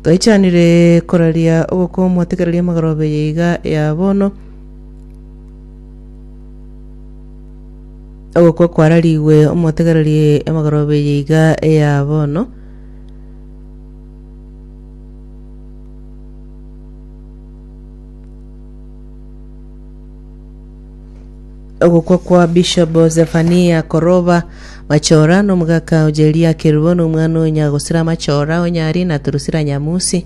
Twaichanire koraria ogokomwa tegereria amagoroba eye iga ya bono. Ogokwa kwararigwe omotegererie amagoroba eye iga ya bono. Ogokwa kwa Bishop Zephania Koroba Machora na omogaka Ojeria Kerubo na omwana o Nyagosira Machora Onyari na Turusira Nyamusi.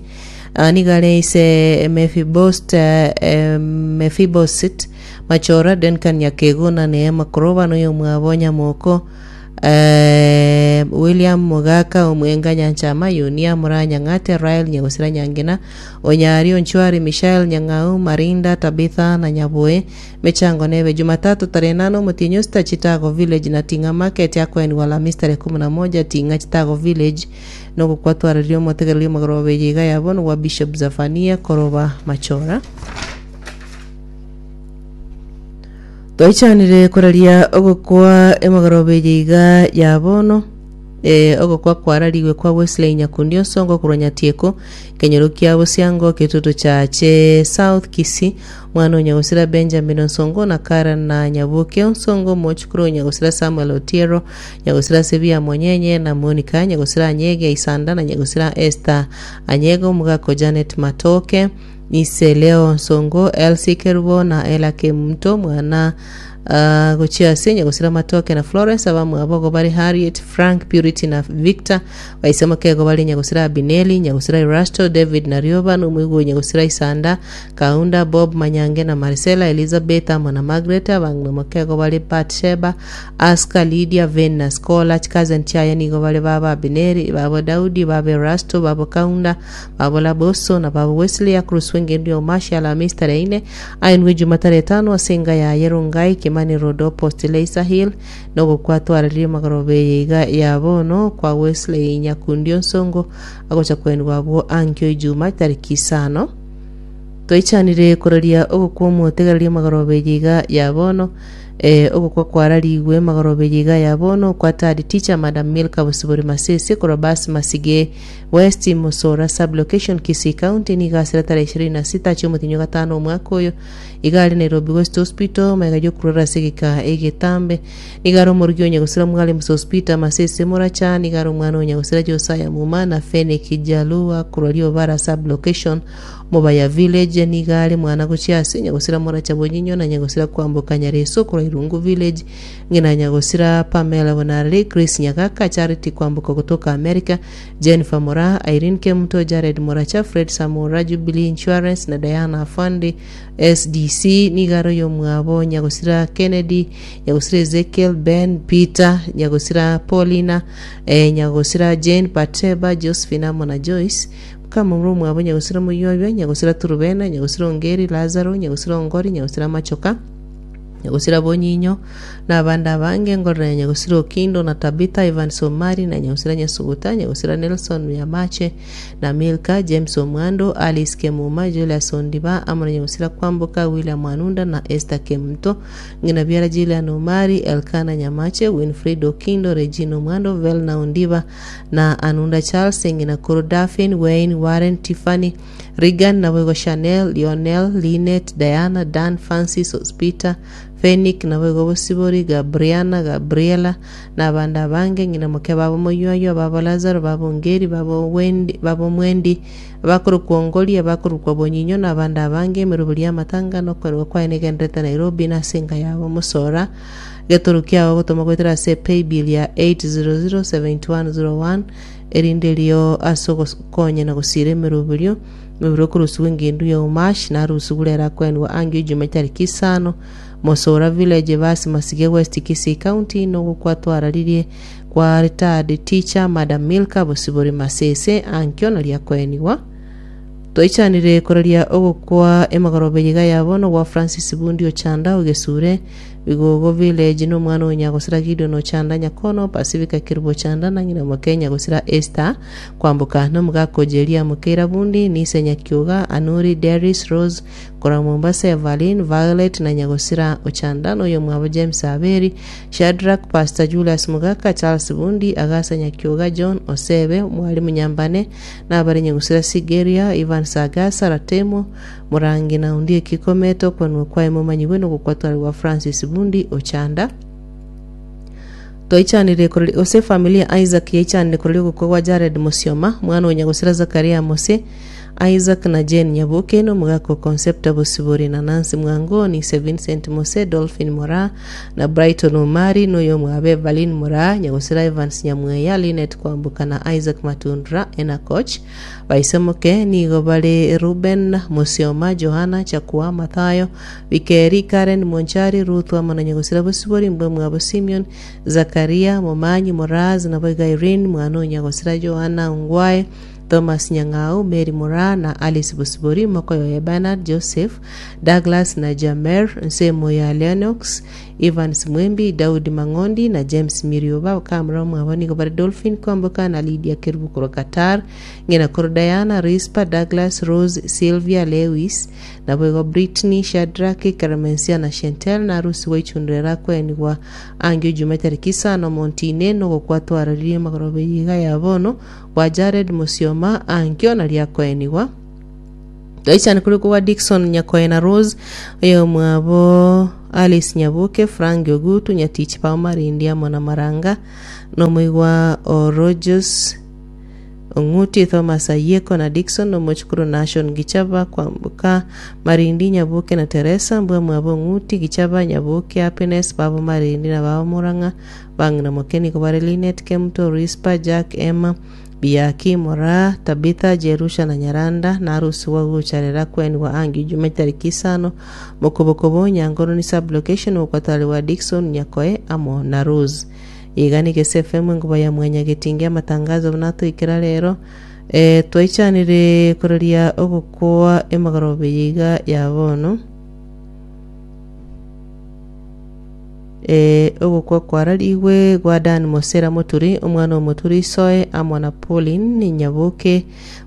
Ah, nigo are ise Mephibost, eh, Mephiboset Machora, Duncan Nyakego na Neema Koroba na oyomwabo Nyamoko eh, William Mogaka Omwenga Nyanchama Yunia Mura Nyang'ate Rael Nyagosira Nyangina Onyari Onchwari Mishael Nyang'au Marinda Tabitha na Nyaboe Mechango nebe Jumatatu tarehe nane omotienyi osita Chitago Village na Ting'a Market akoenigwa Alhamisi tarehe kumi na moja Ting'a Chitago Village nogokwa twararirie omotegereri omogoroba eye iga ya bono gwa Bishop Zephania Koroba Machora. Twaichanire koraria ogokwa emogoroba eye iga ya bono eh, ogokwa kwararigwe kwa Wesley Nyakundi Osongo korwa Nyatieko kenyoro kia Bosiango Kitutu Chache South Kisii Mwana o nyagosira Benjamin Onsongo na Kara na Nyaboke Onsongo, omochukuru o nyagosira Samuel Otiero, nyagosira Sebia Monyenye na Monica, nyagosira Anyege Isanda na nyagosira Esther Anyega, omogaka o Janet Matoke, Ise Leo Onsongo, Elsie Kerubo na Ella Kemunto, mwana ah, gochia ase nyagosira Matoke na Florence, abamwabo igo bare Harriet, Frank, Purity na Victor, baise mokego bare nyagosira Abineli, nyagosira Erasto, David na Rioba, na omoigwa o nyagosira Isanda, Kaunda, Bob, Manyange na Marcella, Elizabeth amo na Margaret, abang'ina mokego bare Batsheba, Aska, Lydia, Vane na Scholar, chicousin chiaye nigo bare baba Abineri, babo Daudi, babo Erasto, babo Kaunda, babo Laboso, na babo Wesley, akoroswa engendu ya Omashi Alamisi tarehe ine, aenwe Ejuma tarehe etano ase enga yaye Rongai, Kimani Road Opposite Leisa Hill, na ogokwa twararirie magoroba eye iga ya bono kwa Wesley Nyakundi Onsongo agocha koenigwa abwo ankio Ejuma tariki isano. Twaichanire koraria ogokwa omotegereria magoroba eye iga ya bono, eh, ogokwa kwararigwe magoroba eye iga ya bono kwa third teacher Madam Milka Bosibori Masese korwa Bas Masige West Mosora Sub Location Kisii County nigo asire tarehe ishirini na sita chiomotinyi o gatano omwaka oyo iga are Nairobi West Hospital magega yokurora ase egeka egetambe nigo are omorugi o Nyagosira Mwalimu Sospeter Masese Moracha nigo are omwana o Nyagosira Josiah Muma na Feneki Jalua korwa Riobara Sub Location Mobaya Village nigo are mwana gochia ase Nyagosira Moracha Bonyinyo na Nyagosira Kwamboka Nyareso korwa Irungu Village, ng'ina Nyagosira Pamela Bonareri, Grace Nyagaka, Charity Kwamboka gotoka America, Jennifer Moraa, Irene Kemunto, Jared Moracha, Fred Samora, Jubilee Insurance na Diana Afande SDC nigo are oyomwabo Nyagosira Kennedy, Nyagosira Ezekiel, Ben, Peter, Nyagosira Paulina, eh, Nyagosira Jane, Batseba, Josephine amo na Joyce. Nkamomura omwabo nyagosira moyuayua, nyagosira Turubena, nyagosira Ongeri, Lazaro, nyagosira Ongori, nyagosira Machoka, nyagosira Bonyinyo, na abande abange, ngorora ya nyagosira Okindo na Tabitha, Evans Omari, na nyagosira Nyasuguta, nyagosira Nelson Nyamache, na Milka, James Omwando, Alice Kemuma, Julius Ondiba, amo na nyagosira Kwamboka, William Anunda, na Esther Kemunto, ng'ina biara Jillian Omari, Elkana Nyamache, Winfred Okindo, Regina Omwando, Velna Ondiba, na Anunda Charles, ng'ina koro Daphne, Wayne, Warren, Tiffany, Regan, naboigo Chanel, Lionel, Lynette, Diana, Dan, Francis, Ospeter, Fenick, naboigo Bosibori, Gabriana, Gabriela, na abande abange, ng'ina moke babo Moyuayua, babo Lazaro, babo Ongeri, babo Wendi, babo Mwendi, abakorokwa Ongori, abakorokwa Bonyinyo, na abande abange, emeroberi y'amatanga na okwerwa kwaye negenderete Nairobi, na ase enka yabo Mosora. Getoro kiao ogotoma goetera ase paybill ya 8007101 erinde erio ase ogokonya na gosiira emeroberio mebere okorusigwa engendu ya Umash na arusigwe rero akoenigwa angio ijuma chitariki isano Mosora Village Basi Masige West Kisii County nogokwa twararirie kwa retired teacher Madam Milka Bosibori Masese ankio nario akoenigwa Twaichanire koraria ogokwa emagoroba eye iga ya bono gwa Francis Bundi Ochanda o Gesure. Bigogo Village, na omwana o Nyagosira Gideon Ochanda Nyakono, Pacifica Kerubo Ochanda na ng'ina moke Nyagosira Esther Kwamboka, na omogaka o Jeria Mokeira Bundi, Nise Nyakioga, Anuri, Deris, Rose, korwa Mombasa, Evaline, Violet na Nyagosira Ochanda, na oyomwabo James Aberi, Shadrack, Pastor Julius Mogaka, Charles Bundi, Agasa Nyakioga, John Osebe, Mwalimu Nyambane, na abare Nyagusira Sigeria, Evans Agasa, Ratemo, Morangi na Ondieki Komete okwanwa kwaye momanyigwe nogokwa Francis Bundi Ochanda. Twaichanire korori gose efamiri ya Isaac yaichanire korori ogokwa gwa Jared Musioma, omwana o nyagosira Zakaria Mose, Isaac na Jane Nyaboke, na omogaka o Concepta Bosibori na Nancy Mwangoni, ise Vincent Mose, Dolphin Moraa, na Brighton Omari, na oyomwabo Evaline Moraa, nyagosira Evans Nyamweya, Linet Kwamboka na Isaac Matundura, Enakoch. Baise moke nigo bare Reuben, Musioma, Johana, Chakua, Mathayo, Bikeri, Karen, Monchari, Ruth amo na nyagosira Bosibori, mbwe mwabo Simeon, Zakaria, Momanyi, Moraz, naboigo Irene, mwana o nyagosira Joana Ongwae, Thomas Nyang'au, Mary Moraa, na Alice Bosibori, mokoyo oye Bernard, Joseph, Douglas na Jamer, nsemo ya Lennox, Evans Mwembi, Daudi Mang'ondi, na James Mirioba, bakamura omwabo nigo bare Dolphin Kwamboka na Lydia Kerubo korwa Qatar, ng'ina korwa Diana, Rispa, Douglas, Rose, Sylvia, Lewis, Naboigo Brittney, Shadrack, Clemencia na Chantelle narusigwe ichundura erakwenigwa angio ijuma etariki isano omontine nogokwa twaroririe amagoroba eye iga ya bono bwa Jared Musioma ankio nario akoenigwa. Toichane korikwa gwa Dickson Nyakoe na Rose oyomwabo Alice Nyaboke, Frank Ogutu, Nyatichi Pao Marindi amo na Maranga nomoigwa o Rogers Ong'uti, Thomas Ayieko na Dickson, omochukuru Nashon Gichaba, Kwamboka, Marindi, Nyaboke na Teresa, mbwamwabo Ong'uti, Gichaba, Nyaboke, Happiness, babo Marindi na babo Murang'a, bang'ina moke nigo bare Linet, Kemuto, Rispa, Jack, Emma, Biaki, Moraa, Tabitha, Jerusha na Nyaranda, na arusigwa gocharera kwenigwa ange Ijumaa chitariki isano, Mokobokobo, Nyangononi Sub-location, ogokwatarigwa Dickson, Nyakoe amo na Rose. Iga nigo SFM enkuba ya mwanyagetinga y'amatangazo buna atoikera rero. Eh, twaichanire kororia ogokoa emagoroba eye iga ya bono. Eh, ogokwa kwararigwe gwa Dan Mosera Moturi, omwana o Moturi Isoe, amo na Pauline Nyaboke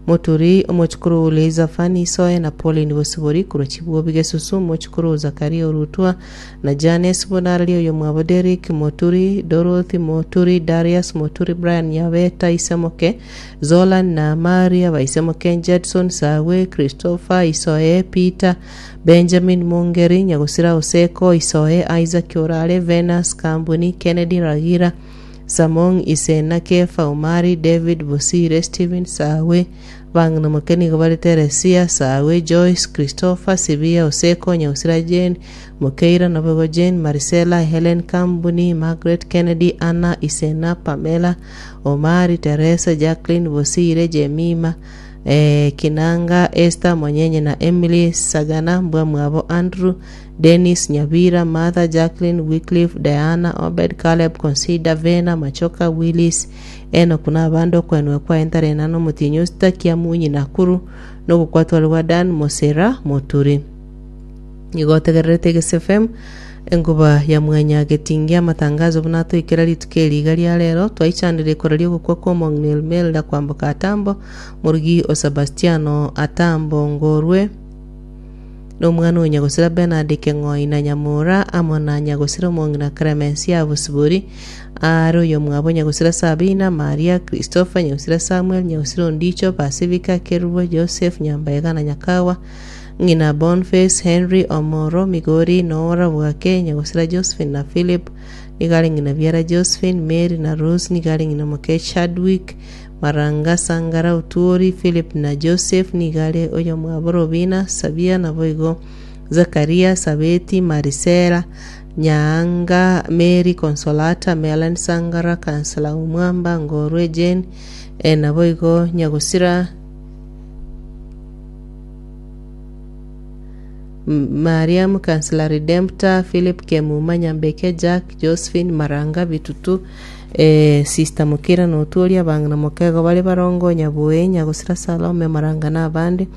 Moturi, omochukuru o Liza Fanny Isoe na Pauline Bosibori korwa Chibwobi Gesusu, omochukuru o Zakaria Orutwa, Na Janesi bonararia oyomwabo Derrick Moturi, Dorothy Moturi, Darius Moturi, Brian Nyabeta Isemoke, Zolan na Maria Baisemoke, Judson Sawe, Christopher Isoe, Peter, Benjamin Mongeri, Nyagosira Oseko, Isoe, Isaac Orare, Venus Kambuni, Kennedy Ragira, Samong Isena, Kefa Omari, David Bosire, Stephen Sawe, Bang'ina moke nigo bare Teresia, Sawe, Joyce, Christopher, Sibia, Oseko, Nyagosira Jane, Mokeira, naboigo Jane, Marisela, Helen, Kambuni, Margaret, Kennedy, Anna, Isena, Pamela, Omari, Teresa, Jacqueline, Bosire, Jemima, eh, Kinanga, Esther, Monyenye na Emily, Sagana, mbwamwabo Andrew, Dennis, Nyabira, Martha, Jacqueline, Wycliffe, Diana, Obed, Caleb, Consider, Vena, Machoka, Willis, Enoku na abande okwenwa kwaye ntarena nomotienyi o Sitakia, Munyi, Nakuru, na ogokwatware gwa Dan, Mosera, Moturi. Nigo otegererete Egese FM, enkuba ya mwanyagetingia amatangazo buna atoikera rituko eri iga ria rero, twaichanire koraria ogokwa kwa omong'ina Elmelda kwamboka Atambo, morugi o Sabastiano Atambo Ngorwe, na omwana o nyagosira Bernard Keng'oi na Nyamura, amo na nyagosira omong'ina Clemencia Bosibori, are oyomwabo nyagosira Sabina, Maria, Christopher, nyagosira Samuel, nyagosira Ondicho, Pacifica, Kerubo, Joseph, Nyambaega na Nyakawa, ng'ina Bonface, Henry, Omoro, Migori, Nora, Bwake, nyagosira Josephine na Philip, nigo are ng'ina biara Josephine, Mary na Rose, nigo are ng'ina moke Chadwick, Maranga, Sangara, Otuori, Philip na Joseph, nigo are oyomwabo Robina, Sabia, naboigo Zakaria, Sabeti, Marisela, Nyaanga, Mary, Consolata, Melen, Sangara, Kansela, Omwamba, Ngorwe, Jane, eh, naboigo Nyagosira, Mariam, Kansela Redemptor, Philip Kemuma, Nyambeke, Jack, Josephine, Maranga, Bitutu, eh, Sister Mukira na Otuori, abang'ina Mokego bare barongo, Nyaboe, Nyagosira Salome, Maranga na abande.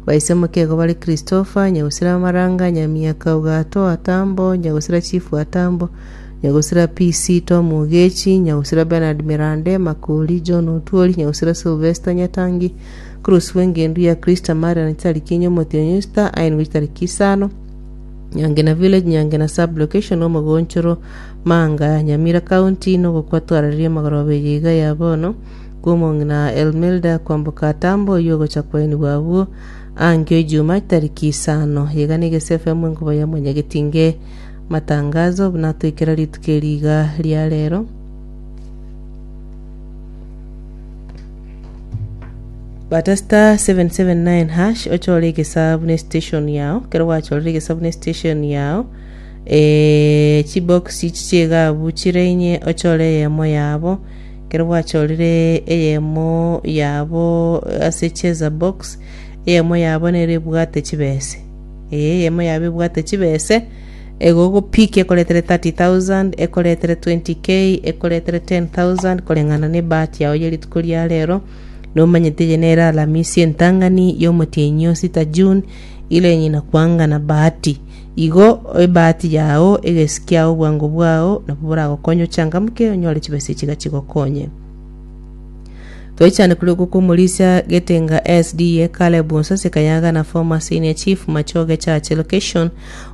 Baise mokego bare Christopher, Nyagusira Maranga, Nyamiaka Ogato Atambo, Nyagusira Chief Atambo, Nyagusira PC Tom Ogechi, Nyagusira Bernard Mirande, Makori John Otwori, Nyagusira Sylvester Nyatangi, Cruz bw'engendu ya Christa Marian chitariki inye omotienyi Easter, aenigwe chitariki isano, Nyangena Village, Nyangena Sub-location, Omogonchoro, Manga, Nyamira County, nogokwa twarareria amagoroba eye iga ya bono, kw'omong'ina Elmilda kwamboka Atambo oyio ogocha koenigwa abwo ankio Ijuma chitariki isano. Iga negese FM enkuba ya mwanyagetinge matangazo buna toikera rituko eri iga ria rero. Bata star 779 hash ochore egesabu ne station yao kero gwachorire egesabu ne station yao eh, chibox echi chigabu chire inye ochore eyemo yabo Ekero gwachorire eyemo yabo ase cheza box, eyemo yabo nere ebwate chibese. Ee, eyemo yabo ebwate chibese, egogopikia ekoretere 30,000, ekoretere 20k, ekoretere 10,000 koreng'ana na ebahati yao ye rituko ria rero, nomanyete eye nere Alamisi entang'ani ya omotienyi o sita June, ire ng'ina kwangana bahati. Igo ebahati yao, egesi kiao, obwango bwao nabwo boragokonye ochangamke onyore chibesa echi iga chigokonye. Twaichane korwa okwo kw'omorisia Getenga SDA Caleb Onsase Kayaga na former senior chief Machoge Church location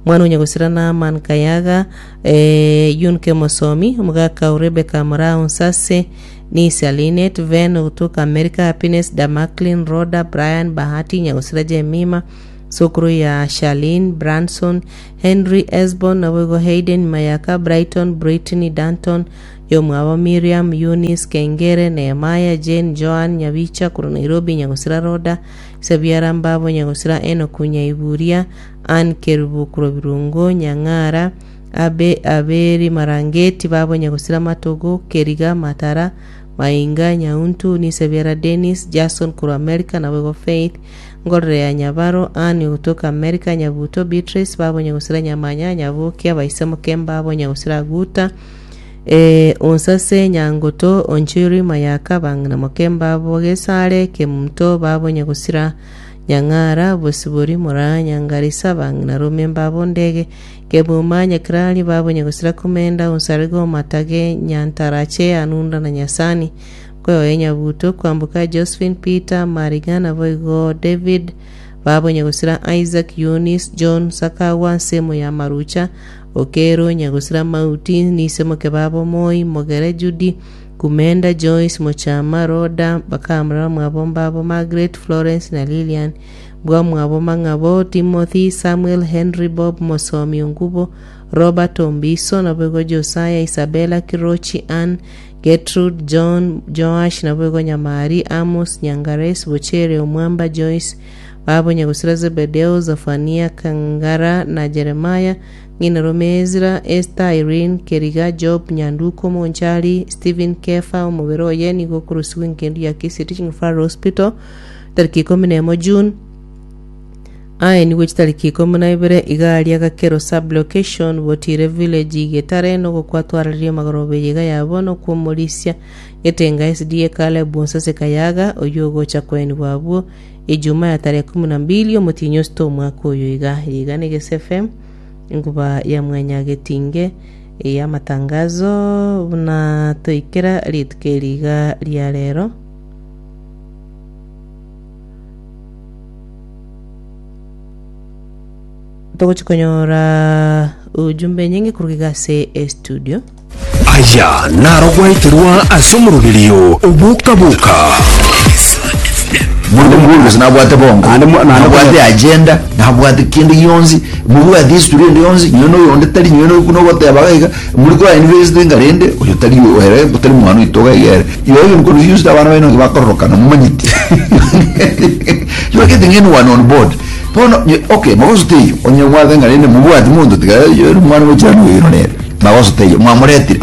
omwana o Nyagosira Naaman Kayaga eh, Yunke Mosomi omogaka o Rebecca Moraa Onsase Nisia Linet Ven ogotoka America Happiness Damaklin Rhoda Brian Bahati Nyagosira Jemima Sokoro ya Charlene, Branson, Henry, Esbon, naboigo Hayden, Mayaka, Brighton, Brittany, Danton, yomwabo Miriam, Eunice, Kengere, Nehemiah, Jane, Joan, Nyabicha, korwa Nairobi, Nyagosira Rhoda, Isabiara mbabo, Nyagosira Enoku, Nyaiburia, Ann Kerubo korwa Birungo, Nyang'ara, Abe, Aberi Marangeti, babo Nyagosira Matogo, Keriga, Matara, Mainga, Nyauntu, Nisabiara Dennis, Jason korwa America, naboigo Faith, Ngorere ya Nyabaro, Ann ogotoka Amerika, Nyabuto, Beatrice, babo Nyagusira Nyamanya, Nyabokia, Baise Mokemba, abo Nyagusira Aguta, eh, Onsase, Nyangoto, Onchiri, Mayaka, Bang'ina Mokemba, abo Gesare, Kemunto, babo Nyagusira Nyang'ara, Bosibori, Moraa, Nyangarisa, Bang'ina Rome, mbabo Ndege, Kebuma, Nyakirari, babo Nyagusira Kumenda, Onsarigo, Matage, Nyantarache, Anunda na Nyasani. Koyoe Nyabuto, kwamboka Josephine, Peter, Mariga, naboigo David, babo Nyagusira Isaac, Eunice, John, Sakawa, nsemo ya Marucha, Okero, Nyagusira Mauti, Nisemoke babo Moi, Mogere, Judy, Kumenda, Joyce, Mochama, Rhoda, bakamura bamwabo mbabo Margaret, Florence na Lilian, bwamwabo Mang'abo, Timothy, Samuel, Henry, Bob, Mosomi, Ongubo, Robert, Ombiso, naboigo Josiah, Isabella, Kirochi, Ann, Gertrude, John, Joash, naboigo Nyamari, Amos, Nyangares, Bochere, Omwamba, Joyce, babo Nyagusira Zebedeo, Zafania, Kangara na Jeremiah, ng'ina rome Ezra, Esther, Irene, Keriga, Job, Nyanduko, Monchari, Stephen, Kefa, omobere oye nigo okorusigwa engendu ya Kisii Teaching Referral Hospital, tariki ikomi nemo June, Aye nigo chitariki ikomi na ibere iga aria Gakero Sub-location, Botire Village, Getare, nogokwatwarareria amagoroba eye iga ya bono kw'omorisia Getenga SDA Caleb Onsase Kayaga, oyio ogocha koenigwa abwo Ijuma ya tarehe kumi na mbili omotienyi osito omwaka oyo iga. Eye iga ne Gese FM, enkuba ya Mwanyagetinge y'amatangazo buna toikera rituko eri iga ria rero. Togochi konyora ujumbe enyinge koruga iga ase estudio. Aya naro gwaeterwa ase omoroberio oboka-boka. Mundu mukuru gose nabwate bongo Naende mo- naende nabwate agenda nabwate kende gionsi mobwate history ende yonsi nyowe noyonde tari nyowe no- nogoteba iga iga muri kwa invest nga rende oyo tari ere tari mwana oito iga iga ere you are even confused abana baino nki bakororokana momanyeti you are getting anyone on board bono nye- okay magoso teiyo onye mwathe nga rende mobwati monto tiga ere omwana gochia noyo nere magoso teiyo mwamoretire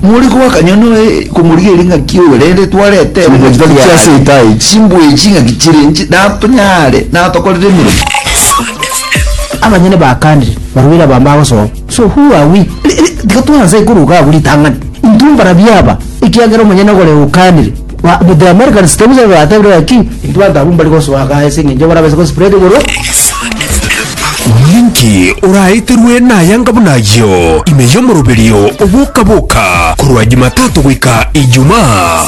More goaka nyono komorigereria ng'aki oyo rende twarete Chimbwa chitari chia seita echi. chimbwa echi ng'aki chire nchi natonyare natokorere emeremo. Abanyene bakanire, barwire abambe agosoa. So who are we? Tiga twanse koruga abwo ritang'ani. Intwe mbarabio aba, ekiagera omonyene ogore okanire. Ba the Americans tebusa batebire gaki intwe abanto abwo mbari gosoa igaa ase eng'encho barabase go spread igoro. Ninki oraeterwe nayanga buna ayio ime y'omoroberio oboka-boka korwa Jumatatu goika Ijumaa?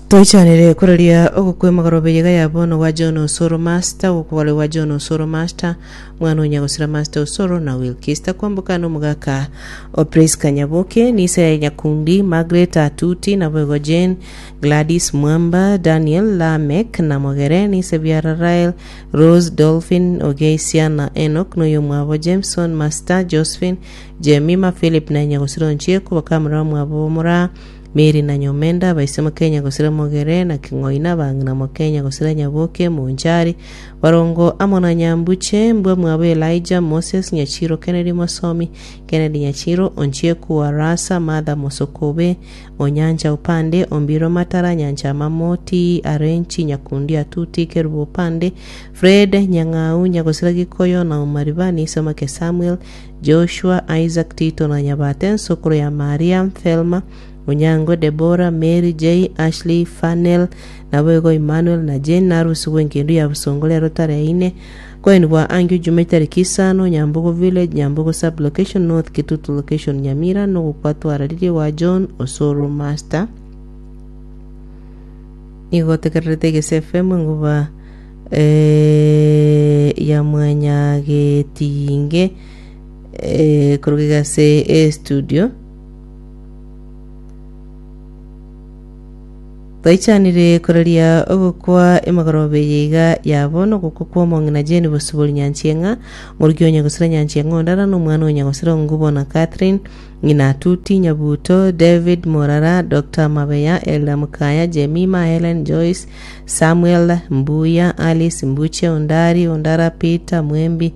Toichanire koraria ogokwa emagoroba eyega ya bono gwa John Osoro Master, ogokwa gwa John Osoro Master, Mwana o nyagosira Master Osoro na Wilkista kwamboka na omogaka o Prisca Nyaboke, Nisa ya Nyakundi, Margaret Atuti, naboigo Jane, Gladys Mwamba, Daniel, Lameck na Mogere, Nise biara Rael, Rose, Dolphin, Ogeisia na Enock, noyomwabo Jameson, Master, Josephine, Jemima, Philip na nyagosira Onchieko, bakamura bamwabo Moraa, Mary na Nyomenda, abaise Mokenya gosira Mogere na King'oina, abang'ina Mokenya gosira Nyaboke, Monchari, Barongo amo na Nyambuche, mbwa mwabo Elijah, Moses, Nyachiro, Kennedy Mosomi, Kennedy Nyachiro, Onchieku Arasa, Martha Mosokobe, Onyancha Opande, Ombiro Matara, Nyanchama Moti, Arenchi, Nyakundi Atuti, Kerubo Opande, Fred, Nyang'au, Nyagosira Gikoyo, na Omariba, Nisamake Samuel, Joshua, Isaac, Tito na Nyabate, ensokoro ya Maria, Thelma, Onyango, Debora, Mary, Jay, Ashley, Fanel, naboigo Emmanuel na Jane narusigwe engendu ya bosongo rero tarehe ine koenigwa angio Juma etariki isano, Nyambogo Village, Nyambogo Sub-Location, North Kitutu Location, Nyamira, nogokwa twararirie gwa John Osoro Master. Nigo otegererete Egese FM enguba eh, ya mwanyagetinge eh, koruga iga ase estudio. Twaichanire koraria ogokwa emegoroba eye iga ya bono, ogokwa kw'omong'ina Jane Bosibori Nyanchieng'a, omoruki o Nyagosira Nyanchieng'a Ondara, na omwana o Nyagosira Ongubo na Catherine, ng'ina Atuti, Nyabuto, David Morara, Doctor Mabeya, Elda Mukaya, Jemima, Helen, Joyce, Samuel, Mbuya, Alice, Mbuche, Ondari, Ondara, Peter, Mwembi,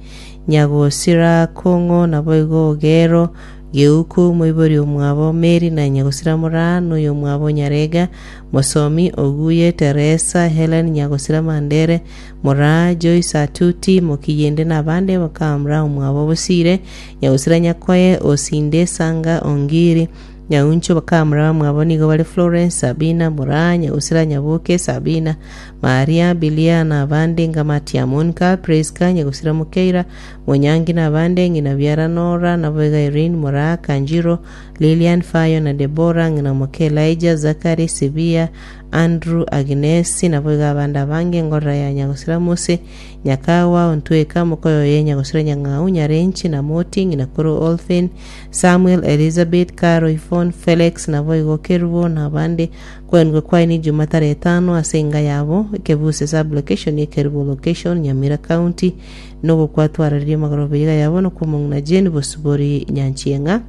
Nyagosira, Kong'o, naboigo Ogero, Geuku, moibori omwabo Meri na nyagosira Moraa, na oyomwabo Nyarega, Mosomi, Oguye, Teresa, Helen, nyagosira Mandere, Moraa, Joyce Atuti, Mokiyende na abande bakamura omwabo Bosire, nyagosira Nyakoe, Osinde, Sanga, Ongiri, Nyauncho bakamura bamwabo nigo bare Florence, Sabina, Moraa, nyagosira Nyaboke, Sabina, Maria, Bilia na abande Ngamatia, Monica, Prisca, nyagosira Mokeira, Monyangi na abande, ng'ina biara Nora, naboigo Irene, Moraa, Kanjiro, Lilian, Fayo na Debora, ng'ina moke Elijah, Zachary, Sibia, Andrew, Agnesi, naboigo abande abange, engorera ya nyagosira Mose, Nyakawa, Ontweka, mokoyo oye nyagosira Nyang'au, Nyarenchi, na Moti, ng'ina koro Olphin, Samuel, Elizabeth, Caro, Yvonne, Felix, naboigo Kerubo, na abande. Kwenigwa kwaye ni Juma tarehe etano ase enga yabo, Ekebuse sub-location, Ekerubo location, Nyamira County. Nogokwa twararirie amagoroba iga ya bono kw'omong'ina Jane Bosibori Nyanchieng'a.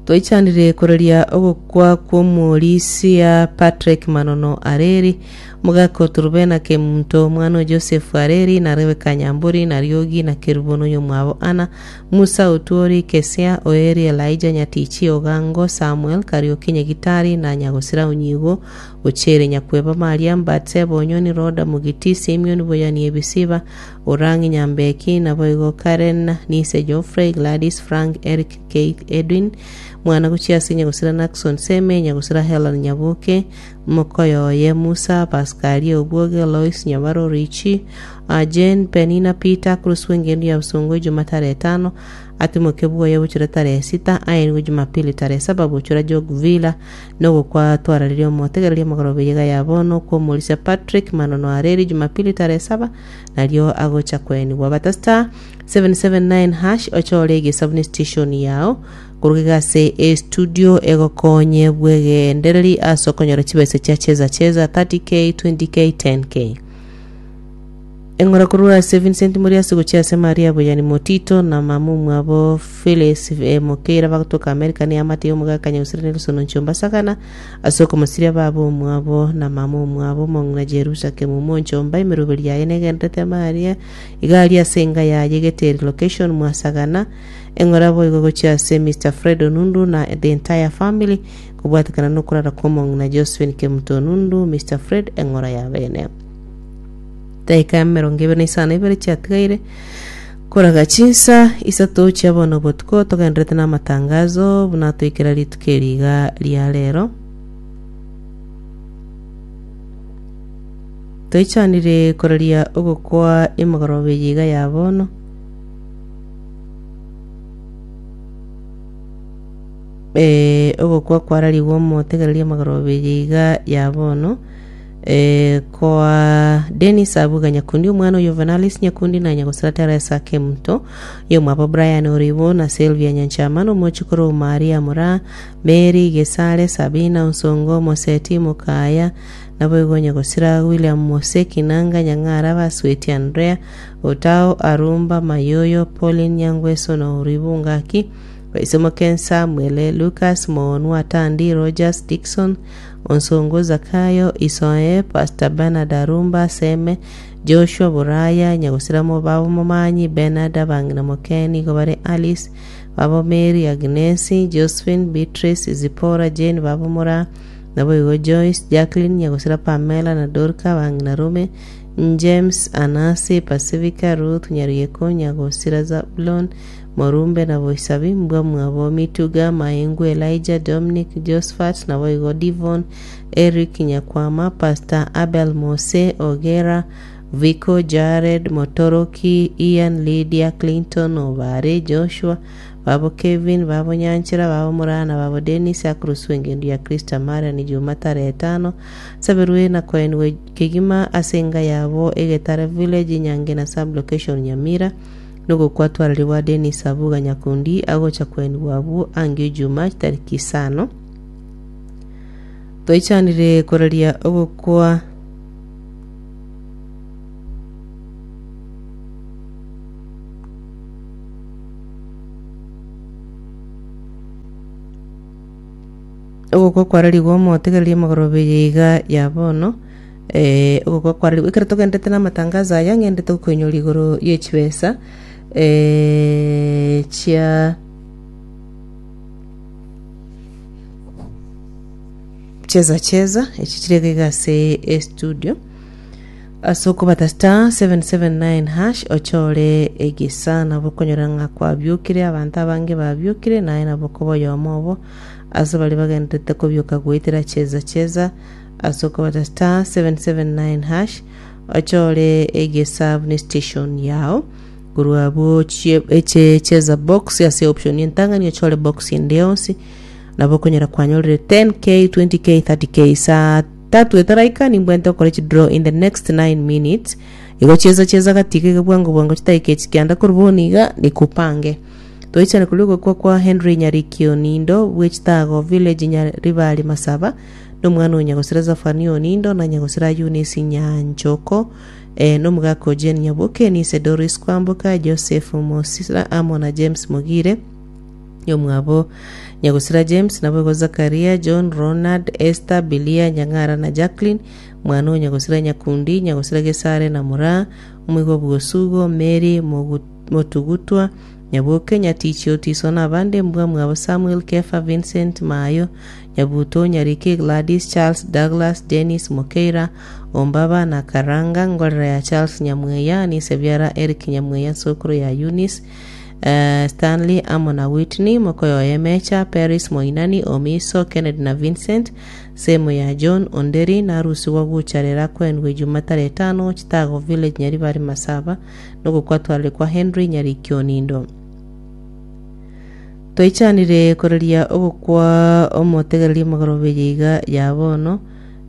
Twaichanire koraria ogokwa kw'omorisia Patrick Manono Areri, omogaka o Turubena Kemunto, omwana o Joseph Areri, na Rebecca Nyambori, na Riogi, na Kerubo na oyomwabo Anna, Musa Otuori, Kesia, Oeri, Elijah Nyatichi, Ogango, Samuel, Kariuki Nyagitari, na Nyagosira Onyigo, Gochere Nyakweba, Maria, Batseba, Onyoni, Roda, Mugiti, Simioni, Boyani, Ebisiba, Orang'i, Nyambeki, naboigo Karen, Nise, Geoffrey, Gladys, Frank, Eric, Keith, Edwin, mwana gochia ase Nyagosira Nackson, Seme, Nyagosira Helen, Nyaboke, mokoyo oye Musa, Pascalia, Obwoge, Lois, Nyabaro, Richie, Jane, Penina, Peter, Cruz bw'engendu ya Bosongo, Ijuma tarehe etano, Atimoke bwoye bochore tarehe sita, aenigwe Jumapili tarehe saba bochora Jog Villa, Nogokwa twararirie omotegereria omogoroba eyega ya bono kw'omorisia Patrick Manono Areri Jumapili tarehe saba nario agocha koenigwa. Bata star 779# ochore egesabu station yao koruga iga ase estudio egokonye bwegendereri ase okonyora chibesa chia cheza cheza 30k 20k 10k. Eng'ora korwa ase Vincent Moriasi gochia ase Maria Boyani Motito na mama omwabo Phyllis Mokeira bagotoka America ne eamate y'omogaka Nyagusira Nelson Onchomba Sagana ase okomosiria baba omwabo na mama omwabo omong'ina Jerusa Kemumu Onchomba emeroberi yaye negenderete Maria iga aria ase enga yaye Geteri location mwa Sagana Eng'ora boigo gochia ase Mister Fred Onundu na the entire family kobwatekana nokorara kw'omong'ina Josephine Kemuto Onundu Mister Fred Eng'ora ya bene. Dakika emerongo ebere na isano na ibere chiatigaire. Koraga chinsa isato chia bono botuko togenderete namatangazo buna toikera rituko eri iga ria rero. Toichanire koraria ogokwa emegoroba eye iga ya bono. Eh, ogokwa kwararigwe omotegereria emegoroba eye iga ya bono. Eh, koa Dennis Abuga Nyakundi omwana oyo Venalis Nyakundi na Nyagosira Teresa Kemunto yomwabo Brian Oribo na Sylvia Nyanchama na omochokoro Maria Mura Mary Gesare Sabina Onsongo Moseti Mokaya naboigo Nyagosira William Mose Kinanga Nyang'ara Basweti Andrea Otao Arumba Mayoyo Pauline Nyangweso na Oribo Ngaki Baisemoken Samuel Lucas Moonwa Tandi Rogers Dickson Onsongo Zakayo, Isoe, Pastor Bernard Arumba, Seme, Joshua Buraya, Nyagosira Mobabo Momanyi, Bernard Abang'ina Moke, nigo bare Alice, Babo Mary, Agnesi, Josephine, Beatrice, Zipporah, Jane, Babo Moraa, naboigo Joyce, Jacqueline, Nyagosira Pamela na Dorca, Abang'ina Rome, James, Anasi, Pacifica, Ruth, Nyaruyeko, Nyagosira Zabulon, Morumbe na Boisabi, mbwa mwabo Mituga, Maengu, Elijah, Dominic, Josphat, naboigo Divon, Eric Nyakwama, Pastor Abel Mose, Ogera, Vico, Jared, Motoroki, Ian, Lydia, Clinton, Obare, Joshua, babo Kevin, babo Nyanchera, babo Morana, babo Dennis, akoroswa engendu ya Krista Marian, Juma tarehe etano, Saberwe na koenigwe kegima ase enga yabo Egetare Village, Nyange na Sub-location Nyamira. Nogokwatwarerigwa Denis Abuga Nyakundi agocha kwenigwa abwo angio Ijumaa chitariki isano. Toichanire koraria ogokwa ogokwa kwararigwe omotegereria amagoroba eye iga ya bono. Eh, ogokwa kwararigwe ekero togenderete na amatangazo aya ng'endete gokoinyora igoro ye chibesa eh, chia cheza cheza echi chire iga iga ase estudio ase okobata star 779 hash ochore egesa nabo okonyora ng'a kwabiokire abanto abange babiokire naye nabo okoba oyomo obo ase baria bagenderete kobioka goetera cheza cheza Ase okobata star 779 hash ochore egesabu ne station yao korwa abwo ochie eche cheza box ase option entang'ani ochore box ende yonsi nabo okonyora kwanyorire 10k 20k 30k saa tatu etaraika nimbwente okore chidraw in the next 9 minutes igo cheza cheza gatiga iga bwango bwango chidakika echi kianda korwa bono iga nikupange toichane koria ogokwa kwa Henry Nyariki Onindo bwe Chitago village Nyaribari Masaba Nomwana o nyagosira Zafania Onindo, na nyagosira Eunice Nyanchoko, eh, nomogaka o Jane Nyaboke, nise Doris Kwamboka, Joseph Mosira amo na James Mogire, yomwabo nyagosira James, naboigo Zakaria, John, Ronald, Esther, Bilia, Nyang'ara na Jacqueline, mwana o nyagosira Nyakundi, nyagosira Gesare na Moraa, omoigwa bw'Osugo, Mary Mogu- Motugutwa, Nyaboke, Nyatichi, Otiso na abande, mbwa mwabo Samuel, Kefa, Vincent, Mayo, Nyabuto, Nyariki, Gladys, Charles, Douglas, Dennis, Mokeira, Ombaba na Karanga, ngorera ya Charles Nyamweya, nise biara Eric Nyamweya sokoro ya Eunice, eh, Stanley amo na Whitney, mokoyoye Mecha, Peris Moinani, Omiso, Kennedy na Vincent, semo ya John Onderi, narusigwa gucharera kwendwe Juma tarehe tano, Chitago Village, Nyaribari Masaba, nogokwatwarire kwa Henry Nyariki Onindo. Toichanire koraria ogokwa omotegereria emegoroba eye iga ya bono,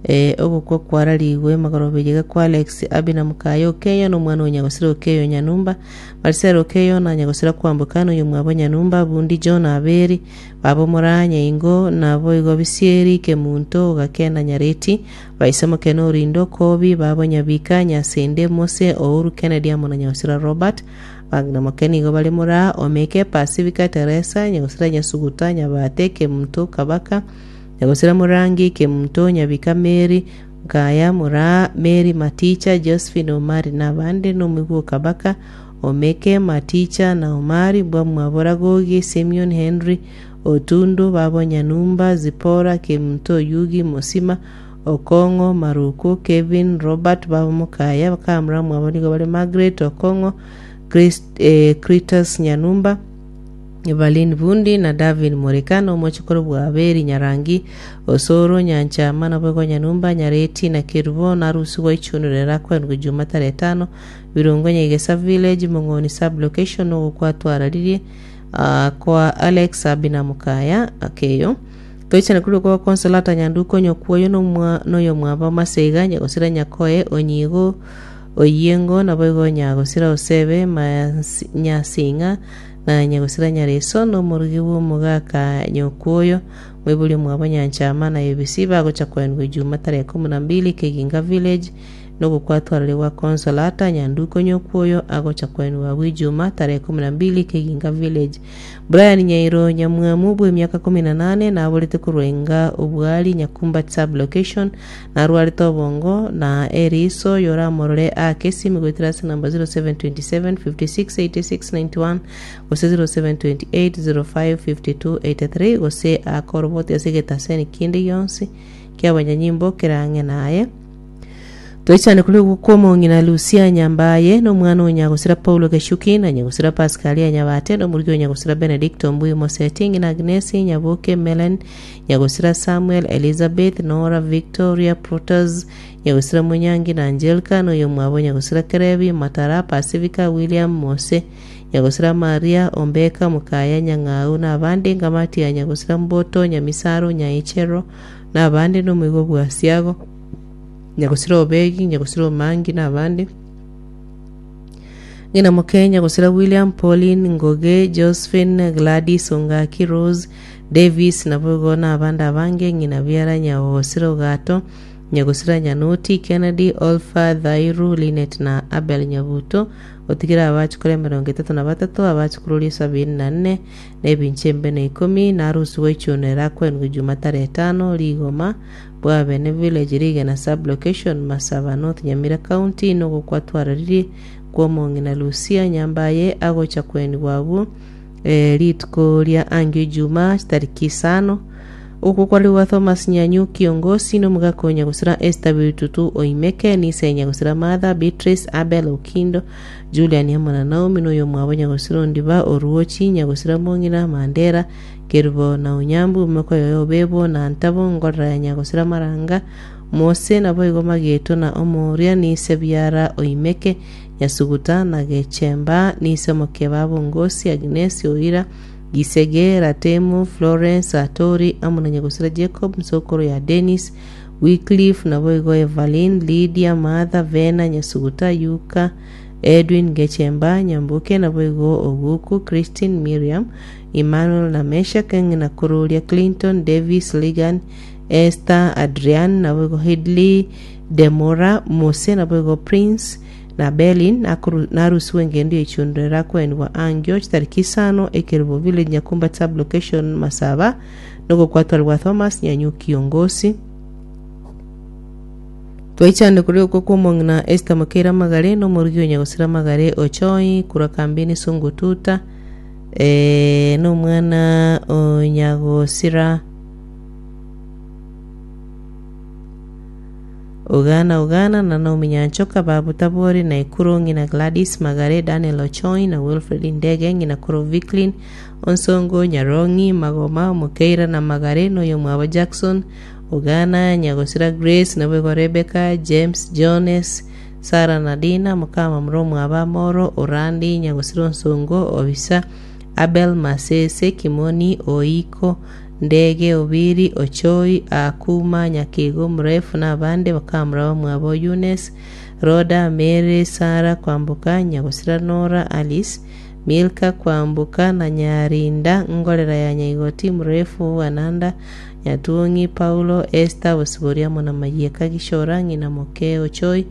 ee, ogokwa kwararigwe emegoroba eye iga kwa Alex Abina mokaye Okeyo na omwana o nyagosira Okeyo Nyanumba, Marcel Okeyo na nyagosira Kwamboka na oyomwabo Nyanumba, Bundi John Aberi, baba Moraa Nyaingo, naboigo Bisieri, Kemunto, Ogakena Nyareti, Baise Mokene Orindo, Kobi, babo Nyabika, Nyasende, Mose, Ouru, Kennedy amo na nyagosira Robert. Abang'ina moke nigo bare Moraa, Omeke, Pasifika, Teresa, Nyagosira Nyasuguta, Nyabate, Kemunto, Kabaka, Nyagosira Morangi, Kemunto, Nyabika, Mary, Nkaya, Moraa, Mary, Maticha, Josephine, Omari na abande, na omoigwa o Kabaka, Omeke, Maticha, na Omari, bwamwabo Ragogi, Simeon, Henry, Otundu, babo Nyanumba, Zipora, Kemunto, Oyugi, Mosima, Okong'o, Maruku, Kevin, Robert, babo Mokaya, bakamura mwabo nigo bare Margaret, Okong'o, Chris, eh, Critus Nyanumba, Evaline Bundi na Davin Moreka na omochokoro bw'Abeli Nyarangi, Osoro, Nyanchama, naboigo Nyanumba, Nyareti na Kerubo, na Arusigwa Ichunure erakoenigwe Juma tarehe etano, Birongo Nyegesa Village, Mong'oni Sub-location, ogokwa twararirie ah, kwa Alex Abina Mokaya Akeyo. Toichane korwa kwa Consolata Nyanduko Nyokwoyo nomwa noyomwabo Maseiga Nyagosira Nyakoe Onyigo Oyiengo naboigo Nyagosira Osebe Mansi Nyasing'a na Nyagosira Nyareso nomorugi bw'omogaka Nyokwoyo moibori omwabo Nyanchama na Ebisi bagocha koenigwa Ijuma tarehe ikomi na mbili Keginga Village Nogokwatwarire gwa Consolata Nyanduko Nyokwoyo agocha koenigwa agwo Ijuma tarehe ikomi na mbili Keginga Village. Brian Nyairo Nyamwamu bw'emiaka 18 naborete korwa enga Obwari Nyakumba Sub Location narwarete obongo na eriso yoramorore aake esimi goetera ase namba 0727 56 86 91 gose 0728 05 52 83 gose aake oroboti ase egetaseni kende gionsi kiabanyanyimbo kere ang'e naye. Toichane korwa kw'omong'ina Lusia Nyambaye, na omwana o nyagosira Paulo Geshuki, na nyagosira Pasikalia Nyabate, na omorugi o nyagosira Benedicto Mbui Moseti, ng'ina Agnesi, Nyaboke, Melen, nyagosira Samuel, Elizabeth, Nora, Victoria, Protas, nyagosira Monyangi na Angelka, na oyomwabo nyagosira Kerebi, Matara, Pacifica, William, Mose, nyagosira Maria, Ombeka, Mokaya, Nyang'au, na abande, Ngamati ya nyagosira Mboto, Nyamisaro, Nyaichero, na abande, na omoigo bw'Asiago. Nyagosira Obegi, Nyagosira Omangi na abande. Ng'ina moke Nyagosira William, Pauline, Ngoge, Josephine, Gladys, Ongaki, Rose, Davis naboigo na abande abange. Ng'ina biara Nyagosira Ogato, Nyagosira Nyanoti, Kennedy, Olfa, Dhairu, Linet na Abel Nyabuto. Otigere abachukuru 32, abachukuru 74, na ebinche embe na ikomi, na arusigwe echuno erakwenwe Juma tarehe etano, rigoma, Bwabene Village Rigena Sub-location, Masaba North Nyamira County nogokwa twararirie kw'omong'ina Lucia Nyambaye agocha kwenigwa abwo eh, rituko ria angio Ijumaa chitariki isano. Okwo kware gwa Thomas Nyanyu Kiongosi nomogaka o Nyagosira Esther Bitutu Oimeke, Nise Nyagosira Martha, Beatrice, Abel Okindo, Julian amo na Naomi noyomwabo Nyagosira Ondiba Oruochi, Nyagosira Mong'ina Mandera, Kerubo na Onyambu, omokoyo Obebo na Ntabo, ngorora ya Nyagosira Maranga, Mose, naboigo Mageto na Omoria, n'ise biara Oimeke, Nyasuguta na Gechemba, n'ise mokeba Bongosi, Agnesi, Oira, Gisege, Ratemu, Florence, Atori, amo na Nyagosira Jacob, nsokoro ya Dennis, Wycliffe, naboigo Evaline, Lydia, Martha, Vena, Nyasuguta, Yuka, Edwin, Gechemba, Nyambuke, naboigo Oguku, Christine, Miriam, Emmanuel na Meshak, ng'ina kororia Clinton, Davis, Ligan, Esther, Adrian, naboigo Hidley, Demora, Mose, naboigo Prince, na Berlin, nakoru- narusiwe engendo y'echiundo erakoenigwa angio chitariki isano ekerubo village Nyakumba sub location Masaba nogokwatwarigwa Thomas Nyanyu Kiongosi. Twaichande koria okwo kw'omong'ina Esther Mokeira Magare na omorugi o Nyagosira Magare Ochoi korwa kambini Sungututa eh, nomwana o Nyagosira Ogana Ogana na Naomi Nyanchoka babu Tabori na Ekuro ng'ina Gladys Magare Daniel Ochoi na Wilfred Ndege ng'ina koro Vicklin Onsongo Nyarong'i Magoma Mokeira na Magare noyomwabo Jackson Ogana Nyagosira Grace naboigo Rebecca James Jones Sara na Dina mokama mromwabo Amoro Orandi Nyagosira Onsongo Obisa Abel Masese Kimoni Oiko Ndege Obiri Ochoi Akuma Nyakego Mrefu na abande bakamura bamwabo Eunice Roda Mary Sara Kwamboka Nyagosira Nora Alice Milka Kwamboka na Nyarinda Ngorera ya Nyaigoti Mrefu Ananda Nyatuong'i Paulo Esther Bosibori amo na Mayieka Gishora ng'ina moke Ochoi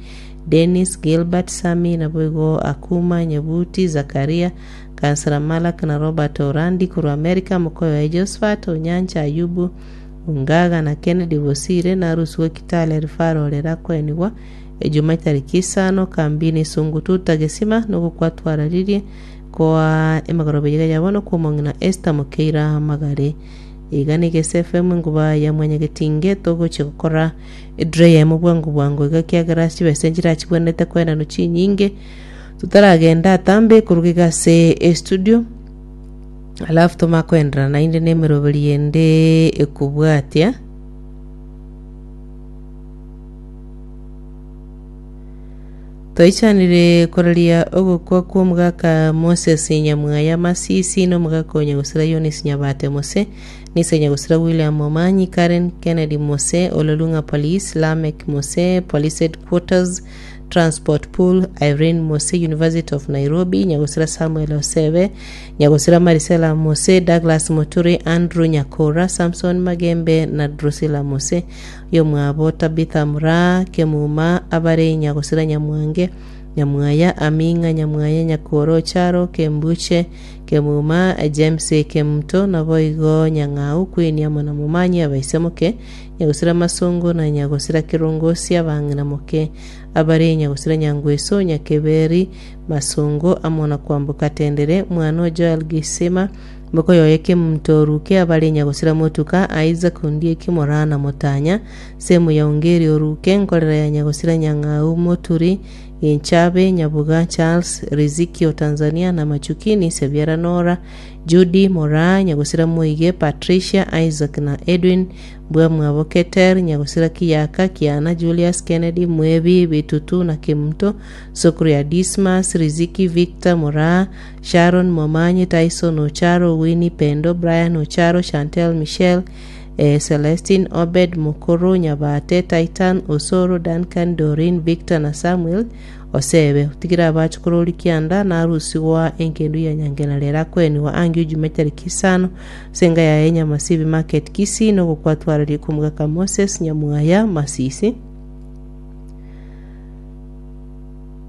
Dennis Gilbert Sami naboigo Akuma Nyabuti Zakaria Kansara Malak na Robert Orandi korwa Amerika mokoyo Josephat Onyancha Ayubu Ongaga na Kennedy Bosire narusigwe Kitale Referral erakoenigwa Ejuma etariki isano kambini Sungututa Gesima nogokwatwararirie koa emegoroba eyio ya bono kw'omong'ina Esther Mokeira Magare Iga nigo ase FM enguba ya mwanyagetinge togochia gokora edre eyemo bwango bwango iga kiagera chibesa nchirachigwenerete koenanwa chinyinge. Totaragenda atambe koruga iga ase estudio, alafu tomanye koenderera naende na emeroberi ende ekobwatia. Twaichanire koraria ogokwa kw'omogaka Moses Nyamwaya Masisi na omogaka o Nyagusira Eunice Nyabate Mose, Nise Nyagusira William Momanyi, Karen Kennedy Mose, Ololung'a Police, Lameck Mose, Police Headquarters, Transport Pool, Irene Mose, University of Nairobi, Nyagusira Samuel Osebe, Nyagusira Marisela Mose, Douglas Moturi, Andrew Nyakora, Samson Magembe na Drusilla Mose. Yomwabo Tabitha Muraa, Kemuma, abare Nyagosira Nyamwange, Nyamwaya, Aming'a, Nyamwaya, Nyakoro, Charo, Kembuche, Kemuma, James Kemunto, naboigo Nyang'au, Queen amo na Momanyi abaise moke, Nyagosira Masongo na Nyagosira Kerongosi abang'ina moke, abare Nyagosira Nyangweso, Nyakeberi, Masongo amo na Kwamboka Tendere, mwana o Joel Gisima, Mokoyoye kemonto oruke abare nyagosira motuka, Isaac Ondieki Moraa na Motanya, Semu ya Ongeri oruke, nkorera ya nyagosira Nyang'au Moturi, Ginchabe, Nyabuga, Charles, Riziki o Tanzania na Machukini, Sebiara Nora, Judy, Moraa, Nyagosira Moige, Patricia, Isaac na Edwin, Mbwamwabo Keter, Nyagosira Kiyaka, Kiana, Julius, Kennedy, Mwebi, Bitutu na Kemunto, Sokuru ya Dismas, Riziki, Victor, Moraa, Sharon Momanyi, Tyson Ocharo, Winnie Pendo, Brian Ocharo, Chantel Michelle, eh, Celestine Obed, Mokoro, Nyabate, Titan, Osoro, Duncan, Doreen, Victor na Samuel Osebe. Otigire abachokoro ori kianda narusigwa engendu ya Nyangena rero akoenigwa ange ojuma etariki isano ase enga yaye Nyamasibi Market Kisii nogokwatwararia kw'omogaka Moses Nyamwaya Masisi.